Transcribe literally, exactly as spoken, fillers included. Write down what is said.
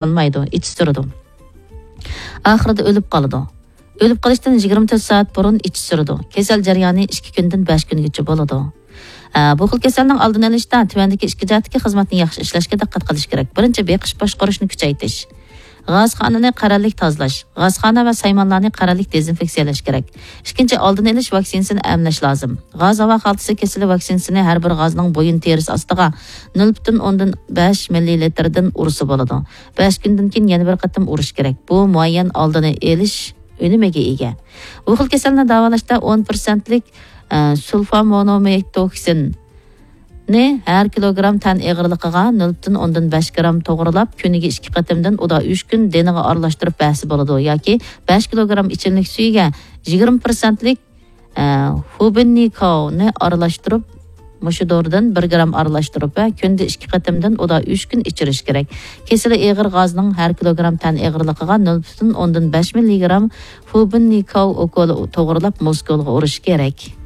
قالمايدۇ، ئىچى سۈرىدۇ. ئاخىرىدا ئۆلۈپ قالىدۇ. ئۆلۈپ قېلىشتىن يىگىرمە تۆت سائەت بۇرۇن ئىچى سۈرىدۇ. كېسەل جەريانى ئىككى كۈندىن بەش كۈنگىچە بولىدۇ. ئە، بۇ خىل كېسەلنىڭ ئالدىنى ئېلىشتا تۆۋەندىكى ئىككى جەھەتتىكى خىزمەتنى ياخشى ئىشلەشكە دىققەت قىلىش كېرەك. بىرىنچى، بېقىش باشقۇرۇشنى كۈچەيتىش. غازخانىنى قەرەللىك تازىلاش. غازخانا ۋە سايمانلارنى قەرەللىك دېزىنفېكسىيەلەش كېرەك. ئىككىنچى، ئالدىنى ئېلىش ۋاكسىنىسىنى ئەملەش لازىم. غاز ھاۋا خالتىسى كېسىلى ۋاكسىنىسىنى ھەر بىر غازنىڭ بويۇن تېرىسى ئاستىغا نۆل پۈتۈن ئوندىن بەش مىللىلىتىردىن ئۇرسا بولىدۇ. بەش كۈندىن كېيىن يەنە بىر قېتىم ئۇرۇش كېرەك. بۇ مۇئەييەن ئالدىنى ئېلىش ئۈنۈمىگە ئىگە. بۇ خىل كېسەلنى داۋالاشتا ئون پىرسەنتلىك، ئە، سۇلفامونومېتوكسىن نى ھەر كىلوگرام تەن ئېغىرلىقىغا نۆل پۈتۈن ئوندىن بەش گرام توغرىلاپ، كۈنىگە ئىككى قېتىمدىن ئۇدا ئۈچ كۈن دېنىغا ئارىلاشتۇرۇپ بەرسە بولىدۇ ياكى بەش كىلوگرام ئىچىملىك سۈيىگە يىگىرمە پىرسەنتلىك، ئە، فۇبىننىكاۋنى ئارىلاشتۇرۇپ، مۇشۇ دورىدىن بىر گرام ئارىلاشتۇرۇپ ۋە كۈندە ئىككى قېتىمدىن ئۇدا ئۈچ كۈن ئىچىرىش كېرەك. كېسىلى ئېغىر غازنىڭ ھەر كىلوگرام تەن ئېغىرلىقىغا نۆل پۈتۈن ئوندىن بەش مىللىگرام فۇبىننىكاۋ ئوكولى توغرىلاپ مۇسكۇلغا ئۇرۇش كېرەك.